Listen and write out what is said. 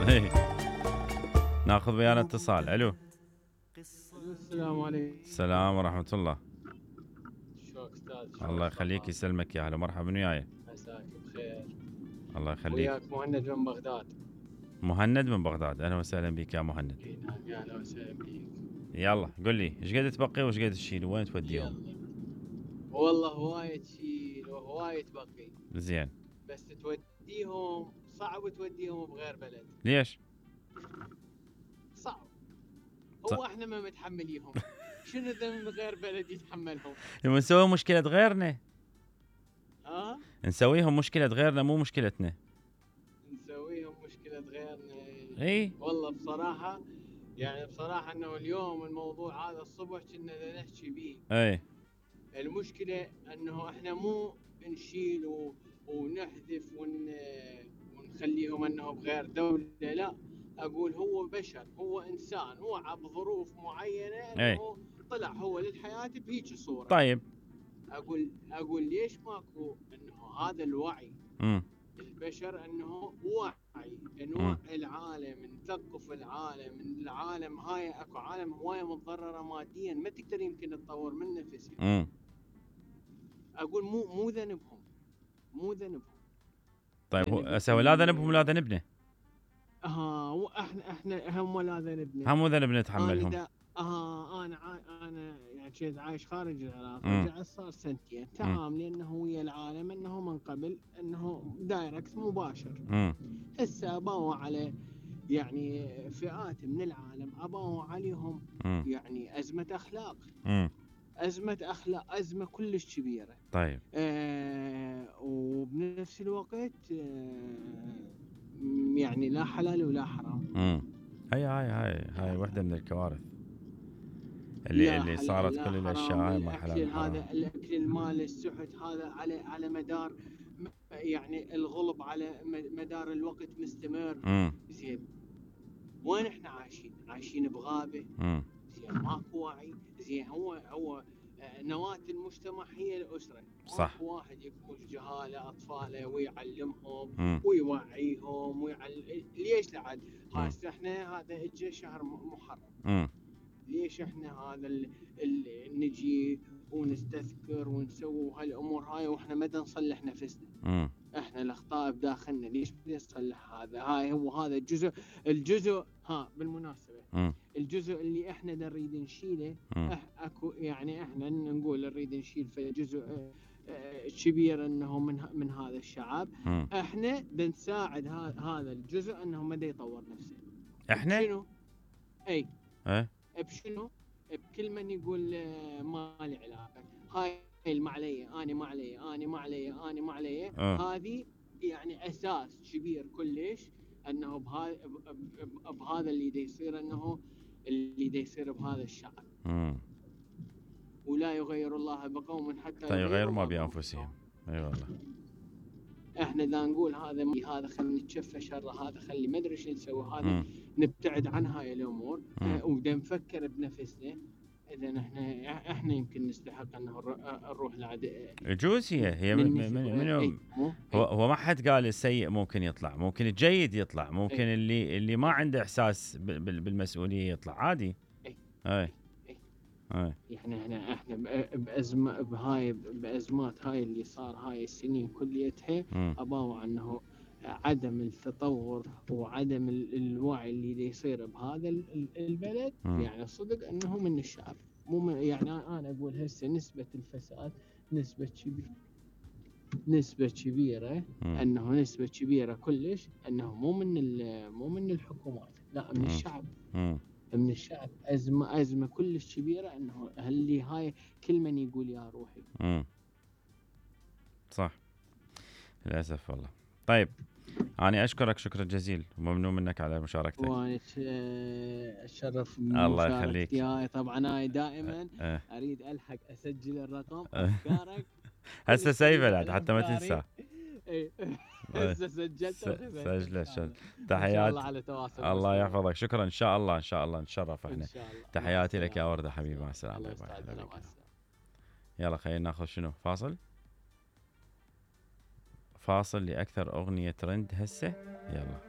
إيه. ناخذ ويانا اتصال. الو. السلام عليكم. السلام ورحمة الله. شلونك استاذ؟ الله يخليك يسلمك يا هلا مرحبا وياي. مساك بخير. الله يخليك. وياك مهند من بغداد. مهند من بغداد، اهلا وسهلا بك يا مهند. نعم يا اهلا وسهلا بك. يلا قل لي ايش قد تبقي وايش قد تشيل وين توديهم؟ والله هواية تشيل وهواية تبقي. زين. بس توديهم صعب توديهم بغير بلد. ليش؟ صعب. هو احنا ما متحمليهم. شنو ذنب غير بلد يتحملهم؟ نسوي مشكلة غيرنا. نسويهم مشكلة غيرنا مو مشكلتنا. نسويهم مشكلة غيرنا. اي والله بصراحة يعني بصراحة انه اليوم الموضوع هذا الصبح كنا نحكي بيه. اي المشكلة انه احنا مو نشيل ونحذف ونخليهم انه بغير دولة، لا اقول هو بشر، هو انسان، هو بظروف معينة انه طلع هو للحياة بهيك صورة. طيب اقول ليش ماكو انه هذا الوعي البشر، انه وعي نوعي العالم، نثقف العالم، العالم هاي اكو عالم هواية متضررة ماديا ما تقدر يمكن تطور من نفسها. اقول مو ذنبهم، مو ذنبهم. طيب هو لا ذنبهم ولا ذنبنا. احنا هم لا ذنبنا، هم مو ذنبنا نتحملهم. انا يعني كنت عايش خارج العراق، رجعت صار سنتين تعاملي انه ويا العالم انه من قبل انه دايركت مباشر. هسه اباوا على يعني فئات من العالم اباوا عليهم يعني ازمة اخلاق. أزمة أخلاق، أزمة كلش كبيرة. طيب. وبنفس الوقت يعني لا حلال ولا حرام. هاي واحدة من الكوارث اللي صارت. كل الأشياء هاي ما حلال حرام. هذا الأكل المال السحت هذا على مدار يعني الغلب على مدار الوقت مستمر. زين وين احنا عايشين بغابة. زين ماكو وعي. زين هو نواة المجتمع هي الأسرة. صح. واحد يكون جهالة أطفاله ويعلمهم ويوعيهم ليش لعد هسه احنا هذا اجى شهر محرم. ليش احنا هذا نجي ونستذكر ونسوي هالأمور هاي واحنا ما نصلح نفسنا. احنا الأخطاء بداخلنا، ليش بدي نصلح هذا؟ هاي هو هذا الجزء بالمناسبة الجزء اللي احنا نريد نشيله. اكو يعني احنا نقول نريد نشيل في جزء كبير انه من هذا الشعب. احنا بنساعد هذا الجزء انه ما يطور نفسه. احنا شنو؟ بشنو؟ بكل من يقول ما لي علاقه، هاي المعليه، انا ما علي. هذه يعني اساس كبير كلش انه بهذا اللي دا يصير، انه اللي دا يصير بهذا الشعب. ولا يغير الله بقوم حتى يغيروا ما بانفسهم. اي والله. احنا دا نقول هذا خلينا نتشفى شر، هذا خلي ما ادري ايش نسوي، هذا نبتعد عن هاي الامور وبدا نفكر بنفسنا. اذا احنا يمكن نستحق انه نروح لعد. يجوز هي من هو ما حد قال السيء ممكن يطلع، ممكن الجيد يطلع، ممكن اللي ما عنده احساس بالمسؤوليه يطلع عادي. يعني احنا بازمه بازمات هاي اللي صار هاي السنين كليتها اباوا انه عدم التطور وعدم الوعي اللي يصير بهذا البلد. يعني صدق انه من الشعب، مو يعني انا اقول هسه نسبة الفساد نسبة كبيرة انه نسبة كبيرة كلش انه مو من الحكومات، لا من الشعب. من الشعب أزمة كلش كبيرة انه اللي هاي كل من يقول يا روحي. صح للأسف والله. طيب أنا أشكرك شكرا جزيل وممنون منك على مشاركتك. وأنا أتشرف الله يخليك. طبعا أنا دائما أريد ألحق أسجل الرقم أفكارك هسه سيفه حتى ما تنسى. هسه سجلت سجل. تحيات. الله يحفظك. شكرا. إن شاء الله نتشرف احنا. تحياتي لك يا وردة حبيبي. مع السلامة. يلا خلينا ناخذ شنو فاصل لأكثر أغنية ترند هسه. يلا